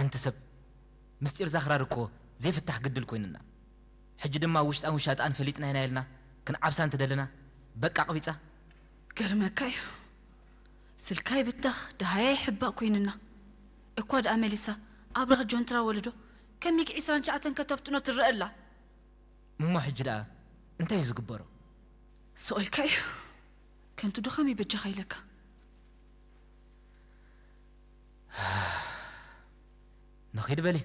ኣንቲ ሰብ፣ ምስጢር ዛኽራር እኮ ዘይፍታሕ ግድል ኮይኑና። ሕጂ ድማ ውሽጣን ውሻጣን ፈሊጥና ኢና ኢልና ክንዓብሳ እንተደለና፣ በቃ ኣቕቢጻ። ገርመካ እዩ። ስልካ ይብተኽ፣ ደሃያ ይሕባእ ኮይንና። እኳ ደኣ መሊሳ ኣብራኽ ጆንትራ ወለዶ ከሚግ ዒስራን ትሽዓተን ከተብጥኖ ትረአ ኣላ። እሞ ሕጂ ደኣ እንታይ እዩ ዝግበሮ? ስቕ ኢልካ እዩ። ከንቱ ድኻም ይበጃኻ ኢለካ። ንኺድ በሊ።